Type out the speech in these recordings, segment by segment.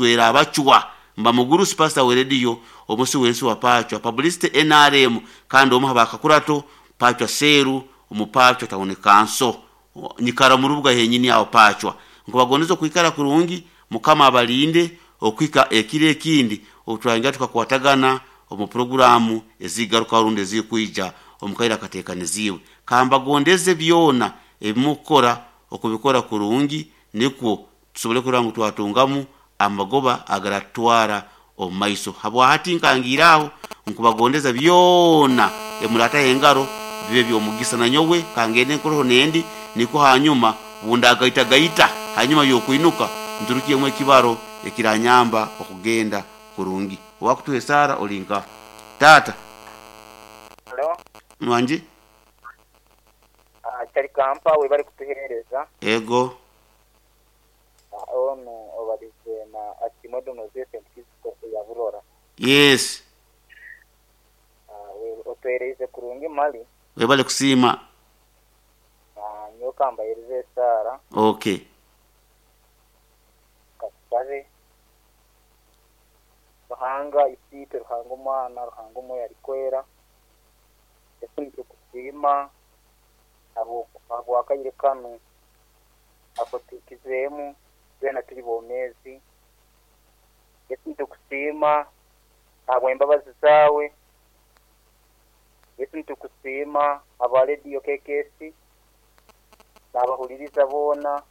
Nswera Abacwa. Mba mugurusi pastor we rediyo omusi w'ensi wa Pacwa Publicity nrm kandi omu ha bakakurato Pacwa Seeru omu Pacwa Town Council. Nyikara omu rubuga henyini aho Pacwa. Nkubagondeza okwikara kurungi, Mukama abalinde okuhika ekiro ekindi obu turayongera tukakwatagana omu puroguraamu ezigarukaho rundi ezikwija omu kaire akateekaniziibwe. Kambagondeze byona ebi mukukora okubikora kurungi nikwo tusobole kurora ngu twatungamu amagoba agaratutwara omu maiso. Habwahati nkangiire aho nkubagondeza byona ebi murataho engaro bibe by'omugisa. Nanyowe kangende nkoroho nendi nikwo hanyuma bundagaitagaita hanyuma y'okwinuka nturukyemu ekibaro ekiranyamba okugenda kurungi. Owakutuha esaara ori nkaha? Taata. Halo. Wangi? Kyari Kampa webare kutuhereza. Ego. Onu obarize na Asiimwe Donozie St Kizito eya Burora. Yes. Otuhereize kurungi mali. Webale kusiima. Nyowe kambahereze esaara. Okay. Katusabe. Ruhanga Isiitwe, Ruhanga Omwana, Ruhanga Omwoyo Arikwera, Yesu nitukusiima ahabw'akaire kanu akutuhikizeemu twena turi bomeezi. Yesu nitukusiima ahabw'embabazi zaawe. Yesu nitukusiima ahabwa rediyo KKC n'abahuririza boona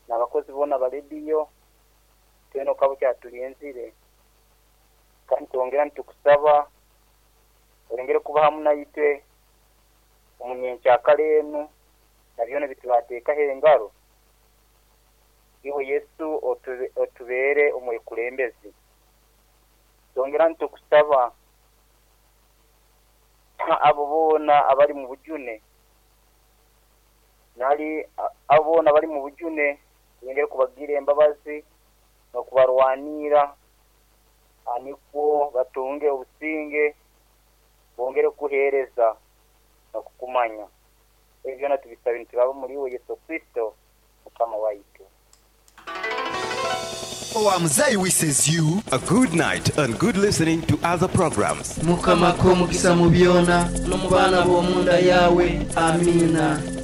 n'abakozi boona aba rediyo, twena okaba okyaturinzire. Kandi nitwongera nitukusaba oyongere kuba hamu naitwe omu nyenkyakara enu. Na byona ebi turateekaho engaro, iwe Yesu otubeere omwekulembezi. Twongera nitukusaba abo boona abari mu bujune, nari abo boona abari mu bujune, oyongere kubagirira embabazi n'okubarwaniira nikwo batunge obusinge, bongere kukuheereza n'okukumanya. Ebi byona tubisabire nituraba omuri iwe Yesu Kristo, Mukama waitu. Owa Muzei wishes you a good night and good listening to other programs. Mukama akuhe omugisa mu byona, n'omu baana b'omu nda yaawe. Amiina.